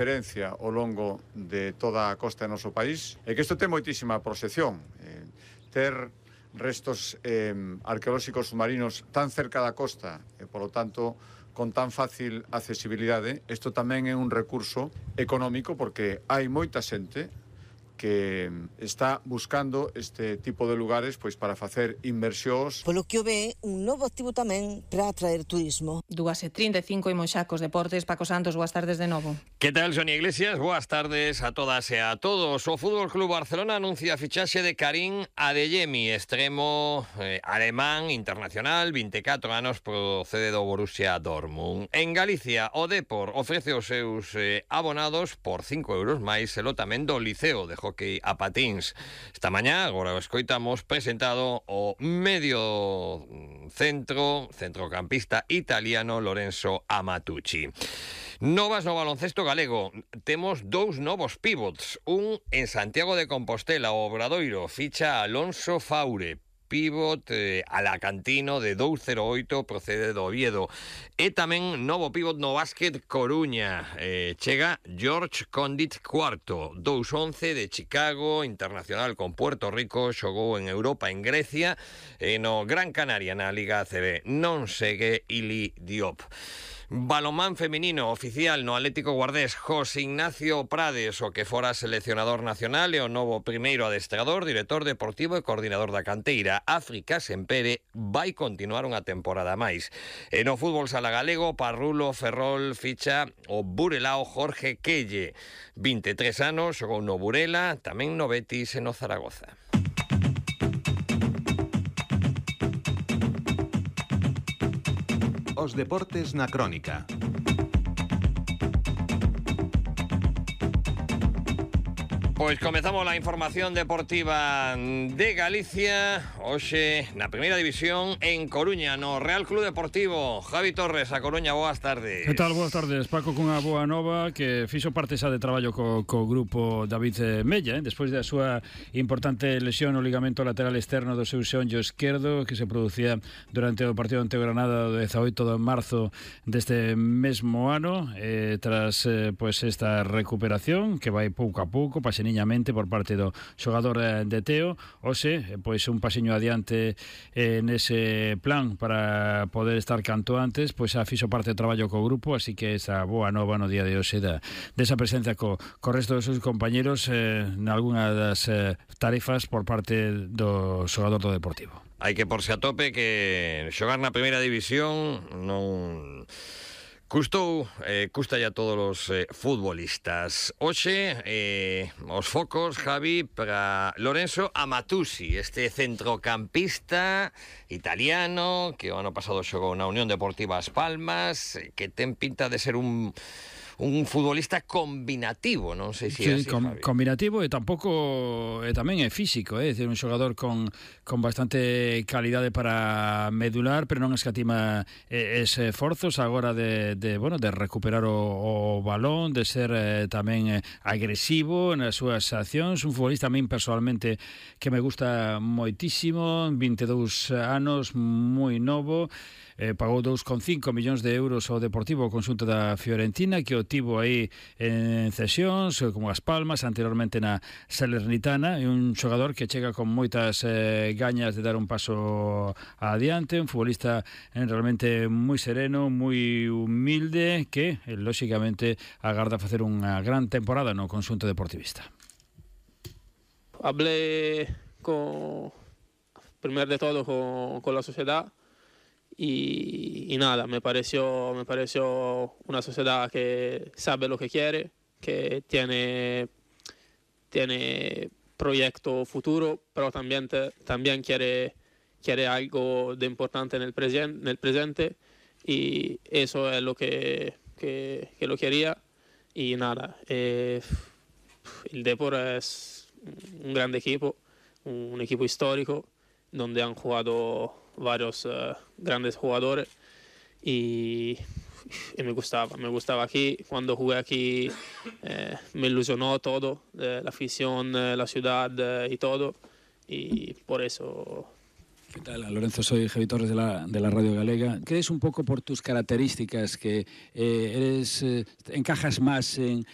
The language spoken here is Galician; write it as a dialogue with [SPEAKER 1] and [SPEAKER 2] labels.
[SPEAKER 1] Referencia ao longo de toda a costa do noso país e que isto ten moitísima proxección. Ter restos arqueolóxicos submarinos tan cerca da costa e, polo tanto, con tan fácil accesibilidade, isto tamén é un recurso económico porque hai moita xente que está buscando este tipo de lugares pois para facer inversións.
[SPEAKER 2] Polo que o ve, un novo activo tamén para atraer turismo.
[SPEAKER 3] 2:35 imos xa cos deportes. Paco Santos, boas tardes de novo.
[SPEAKER 4] Que tal, Sonia Iglesias? Boas tardes a todas e a todos. O Fútbol Club Barcelona anuncia a fichaxe de Karim Adeyemi, extremo alemán internacional, 24 anos, procede do Borussia Dortmund. En Galicia, o Depor ofrece os seus abonados por 5 euros máis e tamén do Liceo de Hockey a patins. Esta mañá, agora o escoitamos, presentado o medio centrocampista italiano Lorenzo Amatucci. Novas no baloncesto galego. Temos dous novos pivots. Un en Santiago de Compostela, o Obradoiro ficha Alonso Faure, pivot alacantino de 2,08, procede do Oviedo. E tamén novo pivot no básquet Coruña. Chega George Condit cuarto, 2,11 de Chicago, internacional con Puerto Rico, xogou en Europa, en Grecia, e no Gran Canaria na Liga ACB. Non segue Ili Diop. Balonmán feminino oficial no Atlético Guardés. José Ignacio Prades, o que fora seleccionador nacional e o novo primeiro adestrador, director deportivo e coordinador da canteira. África Sempere vai continuar unha temporada máis. E no fútbol sala galego, Parrulo Ferrol ficha o burelao Jorge Quelle, 23 anos, xogou no Burela, tamén no Betis e no Zaragoza.
[SPEAKER 5] Os deportes na crónica.
[SPEAKER 4] Pois comezamos a información deportiva de Galicia. Hoxe na primeira división en Coruña, no Real Club Deportivo. Javi Torres, a Coruña, boas tardes.
[SPEAKER 6] Que tal, boas tardes, Paco, cunha boa nova que fixo parte xa de traballo co grupo David Mella, despois da súa importante lesión no ligamento lateral externo do seu xeonllo esquerdo, que se producía durante o partido ante o Granada do 18 de marzo deste mesmo ano. Tras pois esta recuperación que vai pouco a pouco, paseniñamente por parte do xogador de Teo, hoxe pois un pasiño adiante nese plan para poder estar canto antes, pois xa fixo parte do traballo co grupo, así que esa boa nova no día de hoxe desa presencia co resto dos seus compañeros nalgúna das tarefas por parte do xogador do Deportivo.
[SPEAKER 4] Hai que porse a tope que xogar na primeira división non custa ya a todos os futbolistas. Hoxe, os focos, Javi, para Lorenzo Amatucci, este centrocampista italiano que o ano pasado xogou na Unión Deportiva As Palmas, que ten pinta de ser un futbolista combinativo, non sei se é así, Javi.
[SPEAKER 6] Combinativo e tampouco tamén é físico, é dicir, un xogador con bastante calidade para medular, pero non escatima esforzos agora de recuperar o balón, de ser tamén agresivo nas súas accións. Un futbolista a min personalmente que me gusta moitísimo, 22 anos, moi novo. Pagou 2,5 millóns de euros ao Deportivo, o conxunto da Fiorentina, que o tivo aí en cesións, como As Palmas, anteriormente na Salernitana. É un xogador que chega con moitas gañas de dar un paso adiante, un futbolista realmente moi sereno, moi humilde, que, lóxicamente, agarda facer unha gran temporada no conxunto deportivista.
[SPEAKER 7] Hablé primero de todo con la sociedad. Y nada, me pareció una sociedad que sabe lo que quiere, que tiene proyecto futuro, pero también quiere algo de importante en el presente, y eso es lo que lo quería. Y nada, el Depor es un gran equipo, un equipo histórico, donde han jugado varios grandes jugadores, y me gustaba aquí. Cuando jugué aquí me ilusionó todo, la afición, la ciudad y todo, y por eso.
[SPEAKER 6] ¿Qué tal, Lorenzo? Soy Javi Torres de la Radio Galega. ¿Crees un poco por tus características que encajas más en